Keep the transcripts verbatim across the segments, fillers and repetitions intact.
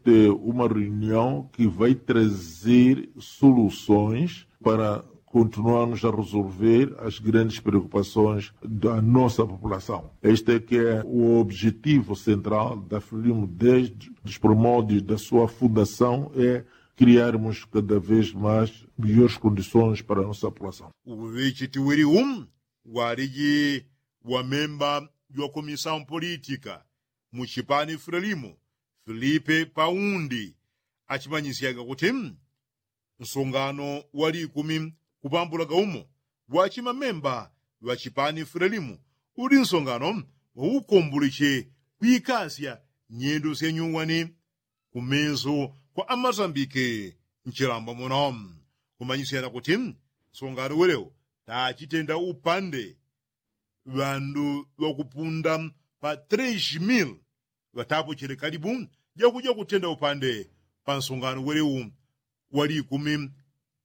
ter uma reunião que vai trazer soluções para continuarmos a resolver as grandes preocupações da nossa população. Este é que é o objetivo central da Frelimo desde os primórdios da sua fundação, é criarmos cada vez mais melhores condições para a nossa população. Uŵichiti wili u waliji wa memba jwa komisao mpolitika mu chipani Frelimo, Filipe Paundi, achimanyisyaga kuti nsongano wa likumi kupambulaga umo wa chimamemba ŵa chipani Frelimo uli nsongano wa ukomboleche kwikasya nyendo sya nyuwani kumeso kwa amasambike nchilambo muno. Kumanyisyana kuti nsongano welewo tachitenda upande ŵandu ŵakupunda pa tres mil ŵatapochele kalibu jakuja kutenda upande pa nsongano welewu wa likumi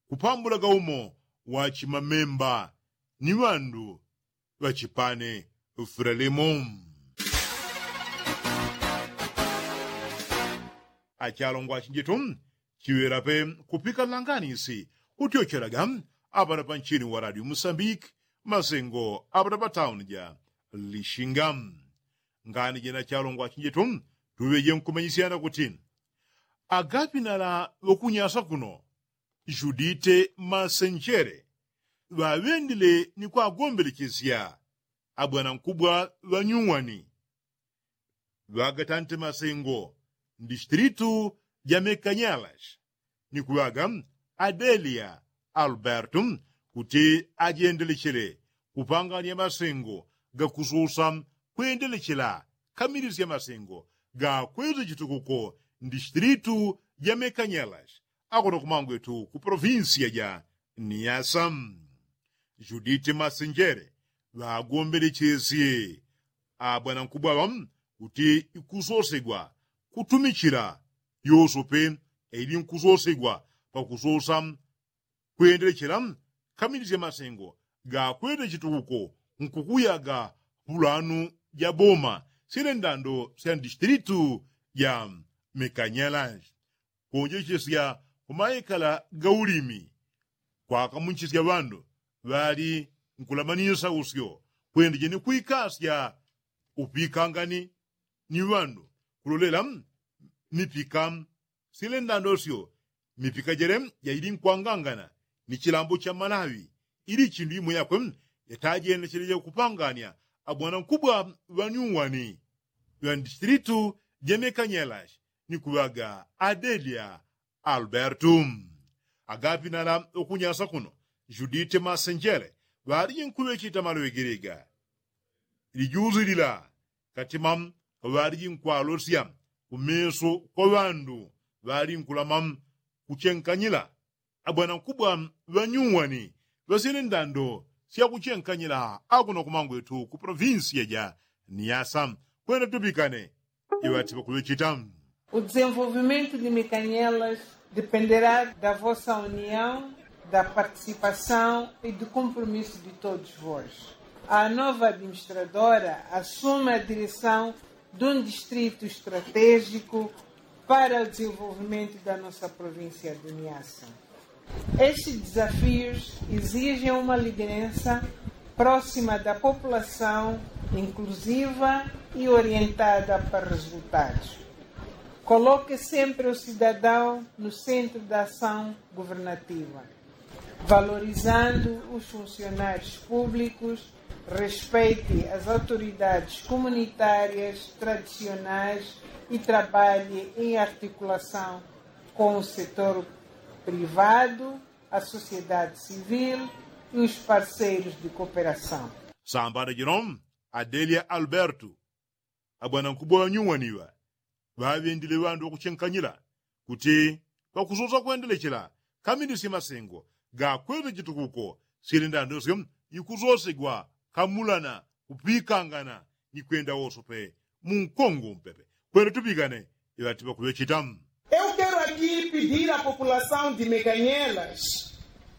kupambulaga umo wa chimamemba ni ŵandu ŵa chipani Frelimo. Achalongwa achinjitu chiŵela pe kupika langanisi kutyochelaga apana pa nchini wa radio musambiki masengo apana pa tauni ja lishinga. Ngani jena achalongwa achinjitu tuŵeje nkumanyisyana kuti agapinala ŵakunyasa kuno judite masenjele ŵaŵendile ni kwagombelechesya abwanankubwa ŵanyuwani ŵagatante masengo mdistritu ja mekanyalas ni kuŵaga adelia alberto kuti ajendelechele kupanganya masengo gakususa kwendelechela kamilisya masengo gakweza chitukuko mdistritu ja mekanyalas akono kumangwetu ku provinsiya ja niasa. Judite masenjele ŵagombelechesie abwanankubwa ŵa kuti ikusosegwa kutumichila yosope ili nkusosegwa pakusosa kwendelechela kamilisya masengo gakwete chitukuko nkukuyaga pulanu ja boma syele ndando sya mdistritu ja mekanyalas. Kuonjechesya kumaekala ga ulimi kwakamunchisya ŵandu ŵali nkulamanyisa usyo kwendeje ni kwikasya upikangani ni ŵandu kulolela mipika syele ndando syo mipika jele jaili nkwangangana ni chilambo cha malawi ili chindu imwe yakwe yatajendecheleja kupanganya abwanankubwa ŵanyuwani ŵa mdistritu ja mekanyalas ni kuŵaga adelia alberto. Agapinala ŵakunyasa kuno judite masenjele ŵaliji nkuŵechita maloŵe gelega lijuzi lila katima ŵaliji nkwalosya kumeso kwa ŵandu ŵali nkulama kuchenkanyila abwanankubwa ŵanyuwani ŵasyele ndando sya kuchenkanyila akuno kumangwetu ku provinsiya ja niasa. Kwenda tupikane iŵati ŵakuŵechita. O desenvolvimento de mekanyalas dependerá da vossa união, da participação e do compromisso de todos vós. A nova administradora assume a direção de um distrito estratégico para o desenvolvimento da nossa província de niasa. Estes desafios exigem uma liderança próxima da população, inclusiva e orientada para resultados. Coloque sempre o cidadão no centro da ação governativa, valorizando os funcionários públicos, respeite as autoridades comunitárias tradicionais e trabalhe em articulação com o setor privado, a sociedade civil e os parceiros de cooperação. Sambana jino adelia alberto abwanankubwa ŵanyuwani ŵa ŵaŵendile ŵandu ŵakuchenkanyila kuti ŵakusosa kwendelechela kamilisye masengo gakwete chitukuko syele ndando syo ikusosegwa kamulana kupikangana ni kwenda wosope mu nkongo mpepe. Kwenda tupikane iŵati ŵakuŵechita. Eu quero aqui pedir à população de mekanyalas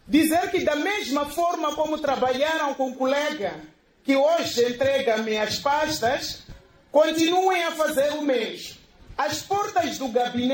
dizer que da mesma forma como trabalharam com o colega que hoje entrega-me as pastas, continuem a fazer o mesmo. As portas do gabinete